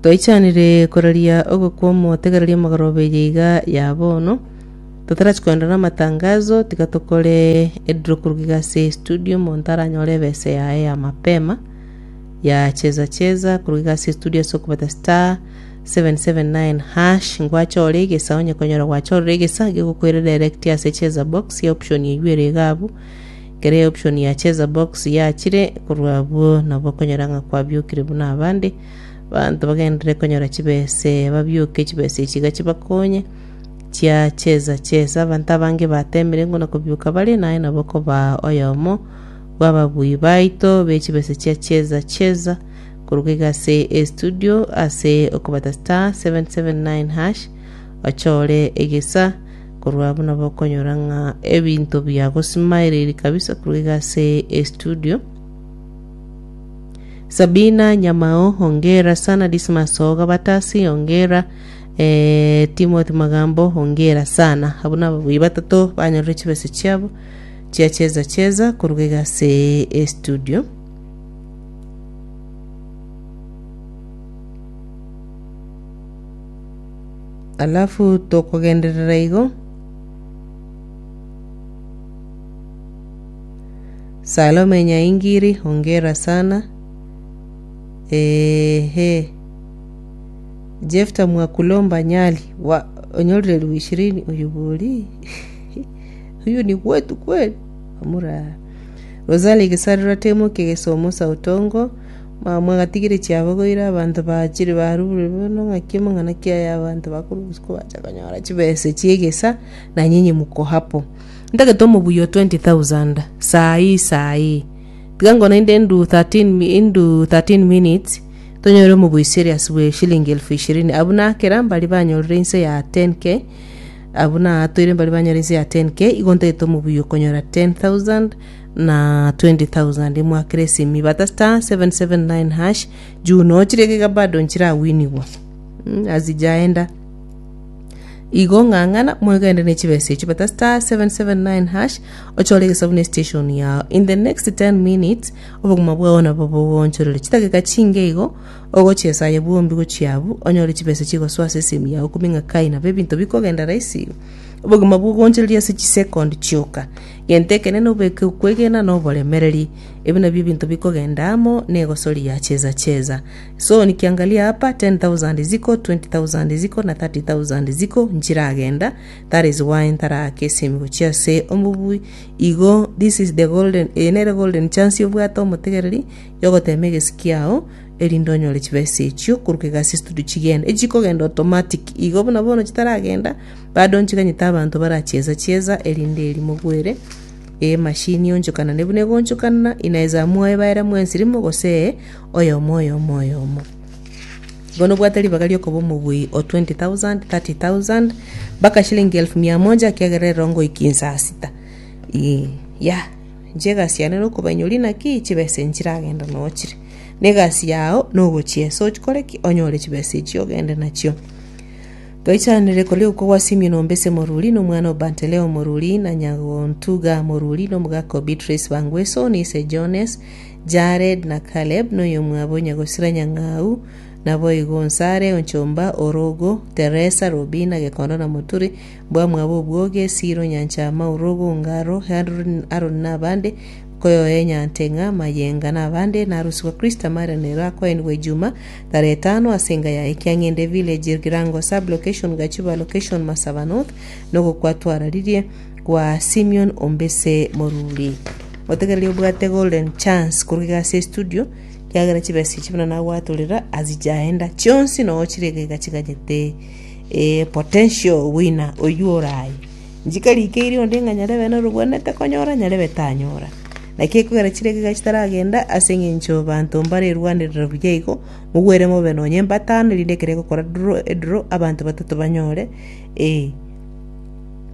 Twaichanire koraria ogokwa omotegereria omogoroba eye iga ya bono, totarachi koenda namatangazo, tiga tokore edraw koruga iga ase estudio omonto aranyore ebesa yaye ya mapema ya cheza cheza koruga iga ase estudio ase okobata star 779 hash ngwachore egesa onye konyora gwachorire egesa gegokoira direct ase cheza box ya option eywo ere iga abwo ekero eoption ya cheza box yachire korwa abwo nabo okonyora ng'a kwabiokire buna abande. Abanto bagenderere konyora chibese, babioke chibese echi iga chibakonye, chia cheza cheza. Abanto abange batemire ng'o na kobioka bare, naye nabo okoba oyomo bw'ababui baito be chibese chia cheza cheza koruga iga ase estudio ase okobata star 779 hash ochore egesa korwa abwo nabo okonyora ng'a ebinto biagosimairiri kabisa korwa iga ase estudio. Sabina Nyamao, hongera sana Dismas Oga Batasi, hongera eh, Timothy Magambo, hongera sana. Abwo nababui batato banyorire chibesa chiabo chia cheza cheza koruga iga ase estudio. Alafu tokogenderera igo Salome Nyaingiri, hongera sana. Ehe. Jefta Mwakulomba Nyali, wa onyorire elfu ishirini oyo bori huyu ni wetu kweli amura Rosalie Gesarira Temo Kegesomo Sautongo mwagatigire chiabogoire abanto bachire barure bono ng'aki amang'ana ki aya abanto bakorwa usiku bacha konyora chibese chiegesa na nyinyi mko hapo Ntagete omobuya o 20,000 saa hii saa hii. Tiga ngo naende indu 13 mi- indu 13 minutes tonyore omobuya serious bwe shilingi elfu ishirini. Abwo nakera mbari banyorire inse ya 10k abwo natoire mbari banyore inse ya 10k igo ntagete omobuya okonyora 10000 na 20000 mwakere esimi bata star 779 hash juu nochire iga bado nchirawinigwa mm, hazijaenda Igo ng'ang'ana mwegende ne chibesa echio bata star 779 hash ochore egesabu ne station yao in the next 10 minutes obogima bwao nabo bogoonchorere chidakika chinge igo ogochiesa aye bwombi gochia abwo onyore chibesa chigosoa ase esimi yao okumie ng'a kai nabo ebinto bikogenda rahisi igo obogima bwogoonchoreria ase chisekondi chioka gento ekenene obeke okwegena na oboremereri ebi nabio ebinto bikogenda amo na egosori ya cheza cheza So nikiangalia hapa 10000 ziko 20000 ziko na 30000 ziko nchiragenda that is why ntaraka esimi gochia ase omobui igo this is the golden eye nere golden chance obwate omotegereri yogotema egesi kiao Erinde onyore chibesa echio korwa egasi studio chigende. Echikogenda automatic igo buna bono chitaragenda bado nchiganyete abanto barachiesa chiesa erinde eri mogwere emashini eonchokanane buna egoonchokanana inaeza amua ebaere mwensi rimo gose ee oyomo oyomo oyomo. Igo nobwate ribaga riokoba omobui o 20,000, 30,000 mpaka shilingi elfu mia moja ekiagera ero ngoikia insaa sita. Ee yah. Inche egasi yane nokobainyori naki chibesa nchiragenda noo chire. Na egasi yao nogochiesa ochikore ki? Onyore chibesa echio ogende nachio. Toichanere koria okwo gwa Simeon ombese moruri, na omwana o Banteleo moruri, na Nyagontuga moruri, na omogaka o Beatrice Bangweso, na ise Jones, Jared na Caleb, na oyomwabo Nyagosira Nyang'au, naboigo Onsare, Onchomba, Orogo, Teresa, Robina, Gekondo na Moturi, Mbwamwabo obwoge, Siro, Nyanchama, Orogo, Ongaro, Haroni na abande, Koyoe, Nyanteng'a, Mayenga na abande, na Arusi gwa Kristo Amarian ero akoenigwa Ijuma tarehe etano ase enga yaye Kiang'ende Village, Girango Sub Location, Gachuba Location, Masaba North, nogokwa twararirie gwa Simeon Ombese Moruri. Otegererie obwate golden chance korwa iga ase estudio kiagera chibesa echi buna nagwatorera azijaenda chionsi noo chire iga iga chiganyete eh, potential winner oywo oraye. Nchikarikeire onde ng'a nyarebe norobwenerete konyora, nyarebe tanyora. Naki ekogera chiregega chitaragenda ase eng'encho banto mbarerwanerera buya igo, mogwere mobe nonye mbatano erinde ekero egokora draw edraw abanto batato banyore eh,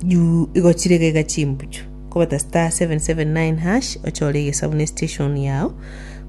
juu igo chiregega chimbuchu. Kobata star 779 hash ochore egesabu ne station yao,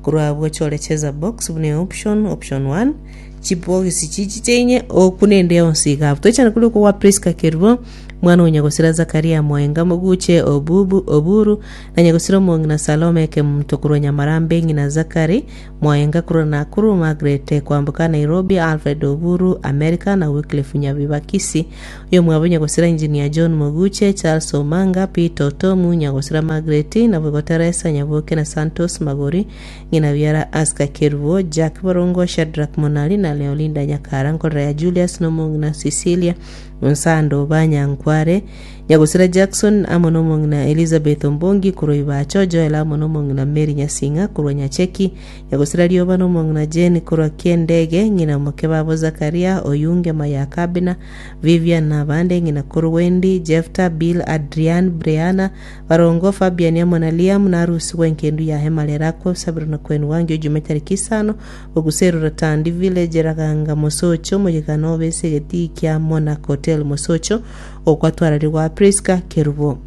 korwa abwo ochore cheza box buna eoption, option one. Chibogisi chichiche inye okune ende yonsi iga abwo. Toichane koria okwo gwa Priska Kerubo, mwana o nyagosira Zakaria Moenga Moguche Obubu Oburu, na nyagosira omong'ina Salome Kemunto korwa Nyamarambe ng'ina Zakari Moenga korwa Nakuru, Margaret Kwamboka Nairobi, Alfred Oburu America na Wycliffe Nyabiba Kisii. Oyomwabo nyagosira Engineer John Moguche, Charles Omanga, Peter Otomu, nyagosira Margaret, naboigo Teresa Nyaboke na Santos Magori Ng'ina biara Aska Kerubo, Jack Barongo, Shadrack Monali na Leolinda Nyakara, nkorera ya Julius na omong'ina Cecilia Onsando Banyankware, Nyagosira Jackson amo nomong'ina Elizabeth Ombongi korwa Ibacho, Joel amo nomong'ina Mary Nyasing'a korwa Nyacheki, Nyagosira Rioba nomong'ina Jane korwa Kiendege, ng'ina moke babo Zakaria, Oyunge Mayakabina, Vivian na abande, ng'ina korwa Wendy, Jefta, Bill, Adrian, Brianna, Barongo, Fabian amo na Liam narusigwe enkendu ya hema Lerakwe, Sabiro na Kwenwangi ojume tariki isano, Boguseru Ratandi Village Raganga Mosocho Moyegano obe ase egetii kia Monarch Hotel Mosocho okwatwararigwa Prisca Kerubo.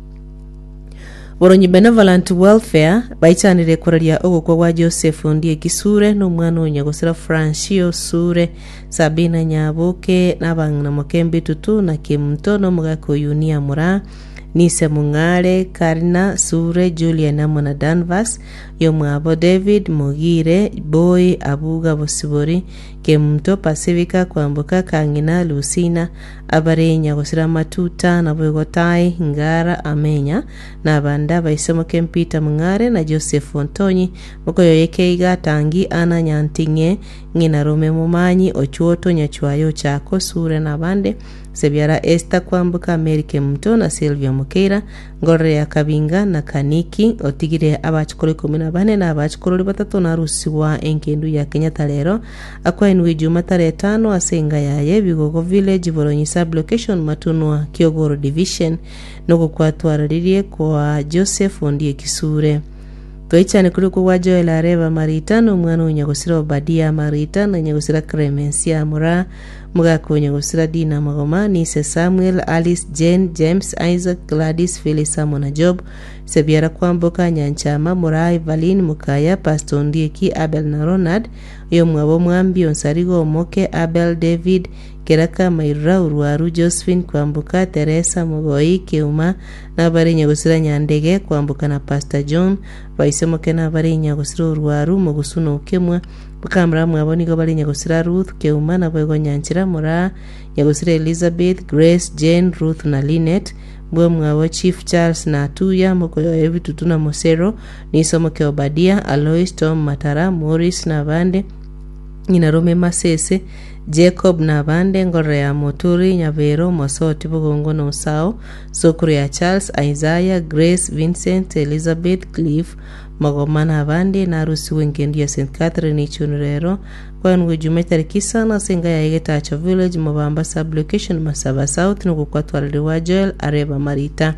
Boronyi Benevolent Welfare baichanire koraria ogokwa gwa Joseph Ondieki Sure na omwana o Nyagosira Francio Sure, Sabina Nyaboke na abang'ina Mokembe Tutu na Kemunto na omogaka o Yunia Moraa. Nise Mong'are, Karina, Sure, Julian amo na Danvas, yomwabo David, Mogire, Boy, Abuga, Bosibori, Kemunto, Pasifika, Kwamboka, Kang'ina, Lucina, Abarenya, gosira Matuta, naboigo Tai, Ngara, Amenya, na abande abaise moke Peter Mong'are na Joseph Ontonyi, mokoyoye Keiga, Tangi, Anna, Nyanting'e, Ng'ina Rome Momanyi, Ochuoto, Nyachwayo, Ochako, Sure na abande, Sebiara Esther kwamboka Mary Kemunto na Sylvia Mokeira, Ngorere ya Kabinga na Kaniki, otigire abachukuru ikomi na bane na abachukurori batato narusigwa engendu ya Kenyatta rero akwainwe Ijuma tarehe tano ase enga yaye Bigogo Village Boronyi Sub Location Matunwa Kiogoro Division nogokwatwararirie kwa Joseph Ondieki Sure. Toichane koria okwo gwa Joel Areba Marita na omwana o Nyagosira Obadia Marita na Nyagosira Clemencia Moraa Mogakonya gosira Dina Magoma, Nise Samuel, Alice, Jane, James, Isaac, Gladys, Phyllis amo na Job, Sebiara Kwamboka, Nyanchama, Moraa, Evaline, Mokaya, Pastor Ondieki, Abel na Ronald, oyomwabo Omwambi, Onsarigo, Omoke, Abel, David, Keraka, Mairura, Orwaru, Josephine, Kwamboka, Teresa, Mogoi, Keuma, nabare Nyagosira Nyandege, Kwamboka na Pastor John, Baise Moke nabare Nyagosira Orwaru, Mogusu na Okemwa, Bakamura mwabo nigo bare nyagosira Ruth, Keuma, naboigo Nyanchera, Moraa, nyagosira Elizabeth, Grace, Jane, Ruth na Linet, mbwe mwabo Chief Charles na Atuya, mokoyoe Bitutu na Mosero, Niso moke Obadia, Alois, Tom, Matara, Maurice na abande, ng'ina Rome Masese, Jacob na abande, Ngorora ya Moturi, Nyabero, Mosoti, Bogongo na Osao, Sokoro ya Charles, Isaiah, Grace, Vincent, Elizabeth, Cliff, Magoma na abande, narusigwe engendu ya St. Catherine Ichuni rero, Koenigwa Ejuma etariki isano ase enka yaye Getacho Village, Mobamba Sub-location, Masaba South, nigo kwatwarerigwa Joel Areba Marita.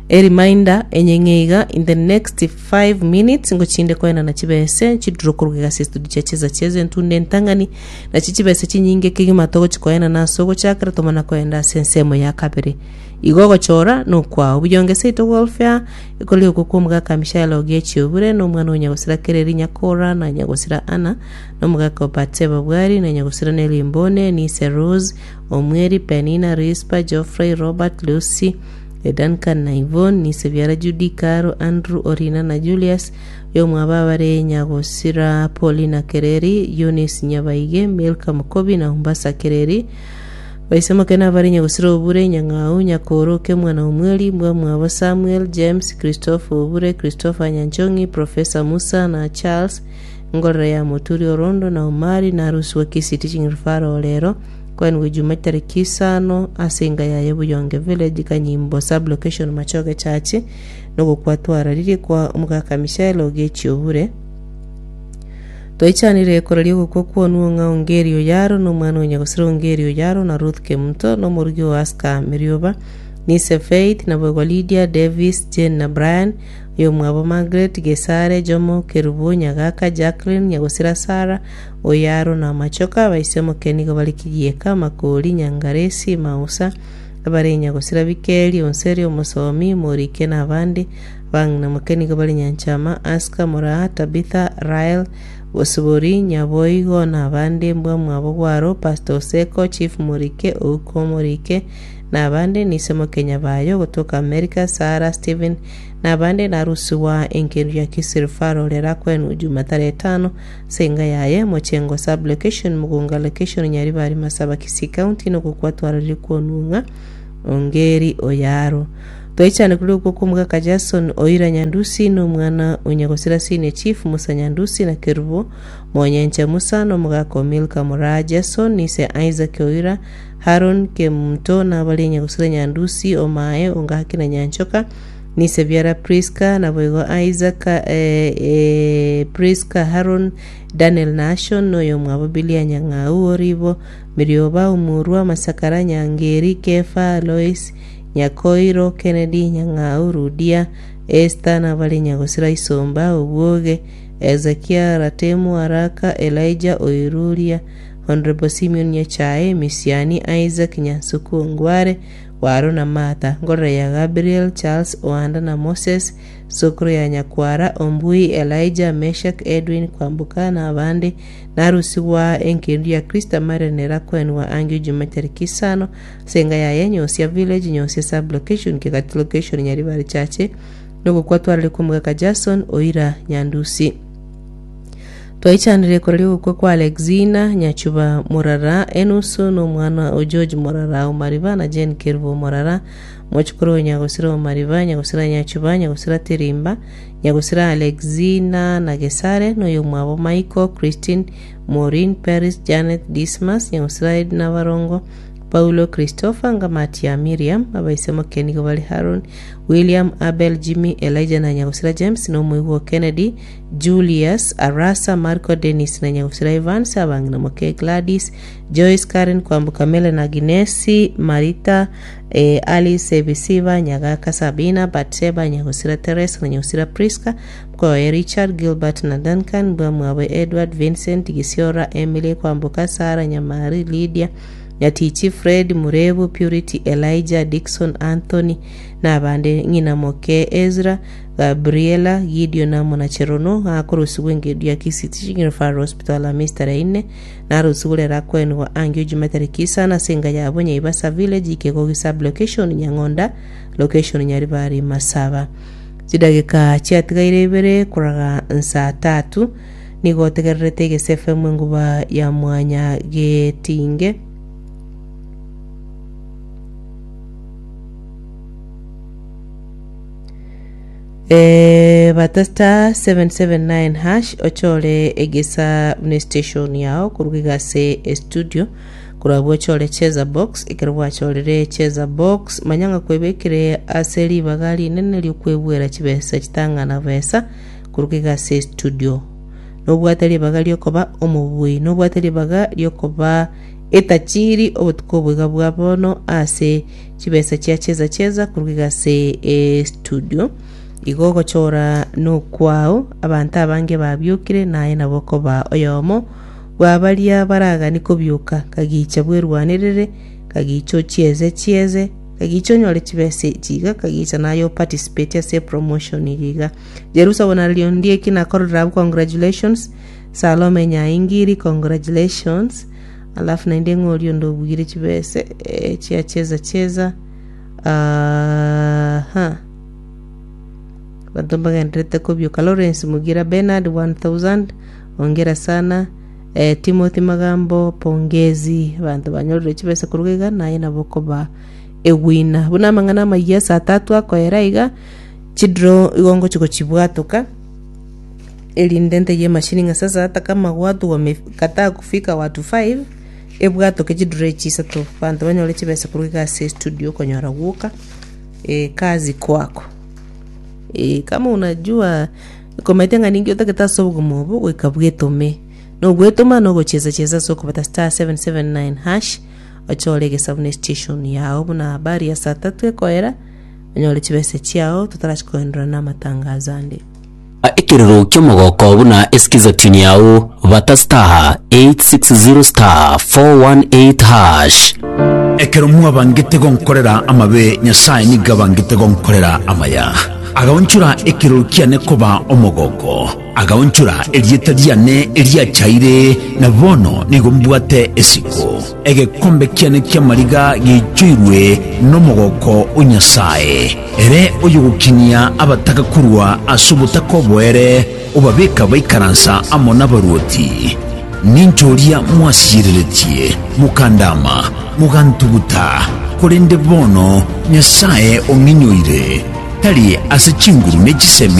A reminder enyeng'e iga in the next 5 minutes ngochinde koenana chibese chiduro koruga egasi estudio chia cheza cheza entunde entang'ani nachi chibese chinyinge kegima togochi koenana ase ogochakera tomana koenda ase ensemo ya kabere igo ogochora nokwao buyonge seito welfare Ekori okwo kw'omogaka Mishael o Gechi obure, na omwana o nyagosira Kereri Nyakora, na nyagosira Ana, na omogaka o Batseba Bwari, na nyagosira Neli Mbone, Nise Rose, Omweri, Penina, Rispa, Geoffrey, Robert, Lucy, Duncan na Yvonne, Nise biara Judy, Caro, Andrew, Orina na Julius, oyomwabo abare nyagosira Paulina Kereri, Eunice Nyabaige, Milka Mokobi na Umbasa Kereri, Baisemoke nabare nyagusira Obure, Nyang'au, Nyakoro, Kemwa na Omweri, mbwamwabo Samuel, James, Christopher Obure, Christopher Nyanchong'i, Professor Musa na Charles, Ngorera ya Moturi Orondo na Omari na Arusi wa Kisii Teaching Referral rero, kwenigwa Ijuma tariki isano ase enka yaye Buyonge Village, Kanyimbo Sub-location Machoge Church, nogokwa twararirie kwa omogaka Michael Ogechi Obure. Twaichanire koraria ogokwa kw'onwe ng'a Ongeri Oyaro nomwana o Nyagosira Ongeri Oyaro na Ruth Kemunto na omorugi o Aska Merioba, Nise Faith, naboigo Lydia, Davis, Jane na Brian, oyomwabo Margaret, Gesare, Jomo, Kerubo, Nyagaka, Jacqueline, Nyagosira Sarah, Oyaro na Machoka, abaise-moke nigo bare Kigieka, Makori, Nyangaresi, Mausa, abare Nyagosira Bikeri, Onseri, Omosomi, Morike na abande. Abang'ina moke nigo bare Nyanchama, Aska, Moraa, Tabitha, Rael, Bosibori, Nyaboigo na abande mbwa mwabo Gwaro, Pastor Oseko, Chief Morike, Ouko Morike, na abande Nise moke Nyabayo, gotoka America, Sarah, Stephen, na abande Narusiwa engendu ya Kisii Referral erakwenu Juma tarehe tano ase enga yaye Mochengo Sub Location Mugunga Location Nyaribari Masaba Kisii County nogokwa twarorire kwonung'a Ongeri Oyaro. Twaichane korwa okwo kw'omogaka Jason Oira Nyandusi, na omwana o nyagosira Senior Chief Musa Nyandusi, na Kerubo Monyencha Musa, na omogaka o Milka Moraa Jason, na ise Isaac Oira, Haron Kemunto, na abaria nyagosira Nyandusi, Omae, Ongaki na Nyanchoka, na ise biara Priska, naboigo Isaac, Priska, Haron, Daniel na Ashon, na oyomwabo Bilia Nyang'au, Oribo, Mirioba, Omurwa, Masakara, Nyangeri, Kefa, Lois, Nyakoiro, Kennedy, Nyang'au, Rudia, Esther, na abare Nyagosira Isomba, Obwoge, Hezekia, Ratemu, Araka, Elijah, Oiruria, Honourable Simeon Nyachae, Misiani, Isaac, Nyansuku, Ongware, Waro na Martha, Ngorora ya Gabriel, Charles, Oanda na Moses, Sokoro ya Nyakwara, Ombui, Elijah, Meshack, Edwin, Kwamboka na abande, Narusigwa engendu ya Kristo amare nera koenwa angio Juma tariki isano ase enga yaye Nyosia Village, Nyosia Sub Location, Kegati Location, Nyaribari Chache, nogokwa twarare kw'omogaka Jason Oira Nyandusi. Twaichanire koraria ogokwa kwa Alexina Nyachuba Morara enusu na omwana o George Morara Omariba na Jane Kerubo Morara, mochokoro o Nyagosira Omariba, Nyagosira Nyachuba, Nyagosira Tirimba, Nyagosira Alexina na Gesare, na oyomwabo Michael, Christine, Maureen, Peris, Janet, Dismas, Nyagosira Edna Barongo, Paulo, Christopher, Ngamati ya Miriam, abaise moke nigo bare Haron, William, Abel, Jimmy, Elijah na Nyagosira James, na omoigwa o Kennedy, Julius, Arasa, Marco, Dennis na Nyagosira Evans, abang'ina moke Gladys, Joyce, Karen, Kwamboka, Melen, Aginesi, Marita, Alice, Ebisiba, Nyagaka, Sabina, Batseba, Nyagosira Teresa na Nyagosira Prisca, mkoye Richard, Gilbert na Duncan, mbwamwabo Edward, Vincent, Gisiora, Emily, Kwamboka, Sarah, Nyamari, Lydia, Nyatichi, Fred, Murebu, Purity, Elijah, Dickson, Anthony, na abande ng'ina moke Ezra, Gabriela, Gideon amo na Cherono, akorusigwa engedu ya Kisii Teaching Referral Hospital Hamisi tarehe ine, Narusigwe rero akoenigwa angio Juma tariki isano ase enka yabo Nyaibasa Village, Ikegogi Sub-location, Nyang'onda Location, Nyaribari Masaba. Chidageka chiatigaire ibere koraga nsaa tatu nigo otegererete Egese FM enguba ya mwanya getinge. Eh, bata star 779 hash ochore egesa buna estation yao koruga iga ase estudio korwa abwo ochore cheza box ekero gwachorire cheza box manya ng'a kwebekire ase ribaga rinene riokwebwera chibesa chitang'ana besa. Koruga iga ase estudio. Nobwate ribaga riokoba omobui, nobwate ribaga riokoba etachiri obotuko obo iga bwa bono ase chibesa chia cheza cheza koruga iga ase estudio. Igo ogochora nokwao, abanto abange babiokire naye nabo okoba oyomo bwa baria baragani kobioka, kagicha bwerwanerere, kagicha ochieze chieze, kagicha onyore chibesa echi iga, kagicha naye oparticipate ase epromotion eye iga. Jerusa Bonario Ondieki nakororera abwo congratulations, Salome Nyaingiri congratulations, alafu naende ng'a oria onde obuire chibese eh, chia cheza cheza aha abanto mbagendererete kobioka Lawrence Mugira Bernard 1000 hongera sana eh, Timothy Magambo pongezi abanto banyorire chibesa korwa iga naye nabo okoba ewina buna amang'ana amayia saa tatu akoera iga Chidraw igo ngochia gochibwatoka, erinde ntebie emachine ng'a sasa ata kama watu wame kataa kufika watu five, ebwatoke chidraw echi isato, abanto banyore chibesa korwa iga ase estudio okonyora gwoka kazi kwako. Kama unajua komanyete ng'a ninki otagete ase obogima obo, goika bwetome. Nogwetoma na ogochesa chesa ase okobata star 779 hash, ochore egesabu na estation yao buna habari ya saa tatu ekoera. Onyore chibesa chiao totarachia koenderera namatangazo ande. Ekerero ki'omogoko buna esikiza tune yao bata star 860 star 418 hash. Ekero mwabangete gonkorera amabe, Nyasae nigo abangete gonkorera amaya. Agaonchora ekerero kiane koba omogoko, agaonchora erieta riane eriachaire, na bono nigo mbwate esiko. Egekombe kiane ki'amariga geichoirwe nomogoko o Nyasae, ere oyogokinia abataka korwa ase obotaka oboere, obabeka baikaransa amo nabaruoti. Ninche oria mwasiereretie, mokandama, mogantuguta, korende bono Nyasae ong'inyoire, tari ase chinguru ne chisemi.